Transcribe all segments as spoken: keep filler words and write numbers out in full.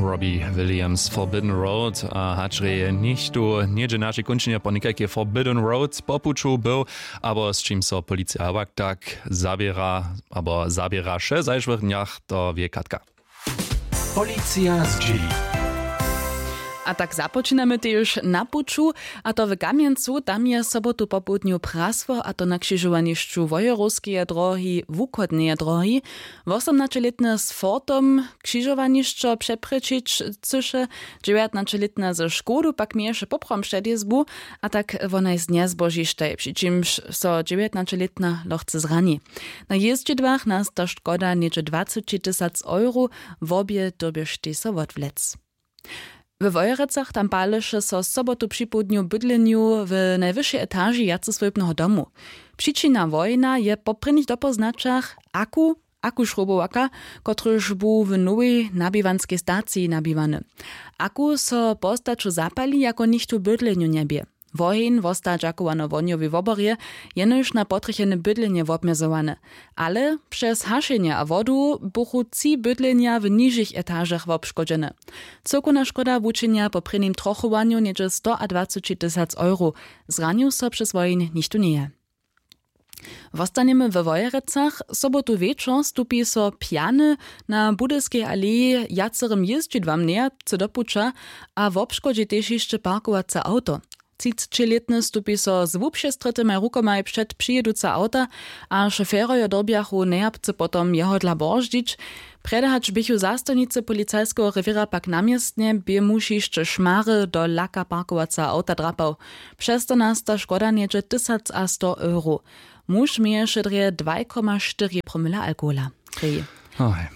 Robbie Williams, Forbidden Road, a hač rje nichtó něhdźe w našej kónčinje po někajkej Forbidden Road po puću był, abo z čim so policija wak tak zaběra abo zaběraše w zašłych dnjach, to wě Katka. Policija zdźěli. A tak započinamy tež na puću, a to w Kamjencu. Tam je sobotu popołdnju prasło, a to na křižowanišću Wojerowskeje drohi, wuchodneje drohi. Wosomnaćelětny z Fordom křižowanišćo přeprěčić chcyše, dźewjatnaćelětna ze Škodu pak měješe poprawom předjězbu, a tak wonaj z njezbožištaj, při čimž so dźewjatnaćelětna lochce zrani. Na jězdźidłach nasta škoda něhdźe dwaceći tysac euro, wobě dyrbještej so wotwlec. We Wojerecach tam paleše so sobotu připołdnju w bydlenju w najwyšej etaži wjaceswójbneho domu. Přičina wojna je po prěnich dopóznaćach aku, aku šrubowaka, kotryž bu w nowej nabiwanskej staciji nabiwany. Aku so postaću zapali, jako nichtó w bydlenju njebě. Woheń wosta dźakowano wohnjowej woborje, jenož na potrjechene bydlenje wobmjezowany. Ale přez hašenje a wodu buchu tři bydlenja w nižich etažach wobškodźene. Cyłkowna škoda wučinja po prěnim trochowanju něhdźe stoadwaceći tysac euro. Zranił so přez woheń nichtó njeje. Wostanjemy we Wojerecach. Sobotu wječor stupi so pjany na Budyskej aleji wjacerym jězdźidłam nejapcy do puća a wobškodźi tež hišće parkowace awto. Třicećilětny stupi so z wupřestrětymaj rukomaj před přijěduce awta a šoferojo dyrbjachu nejapcy potom jeho dla borzdźić. Prjedy hač běchu zastojnicy policajskeho rewěra pak na městnje, bě muž hišće šmary do laka parkowaceho awta drapał. Přez to nasta škoda něhdźe tysac a sto euro. Muž měješe drje dwaj koma štyri promila alkohola. Oj.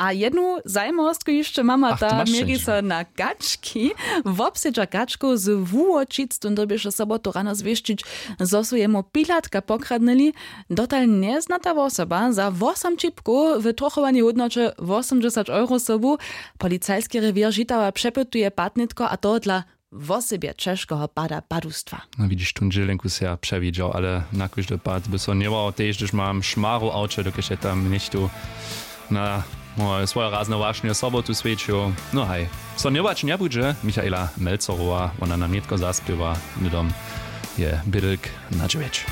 A jednu zajimawostku hišće mama. Ach, ta měri so na kački. Wobsedźa kačkow z wuwočic, tón dyrbješe sobotu rano zwěsćić, zo su jemu pilatka pokradnyli. Dotal njeznata wosoba za wosom ćipkow w trochowanej hódnoće wosomdźesać euro sobu. Policajski rewěr žitawa přepytuje patnětko, a to dla wosebje ćežkeho pada padustwa. No widźiš, tón dźělenku se ja přewidźał, ale na kóždy pad by so njewołał, tež hdyž mam šmaru w awće, dokelž je tam něchtó na moje swoje razne wašnje sobotu swjećił. No haj, so njewołać njebudźe. Michaela Melcerowa, wona nam nětko zaspěwa, hnydom je bědlk na dźewjeć.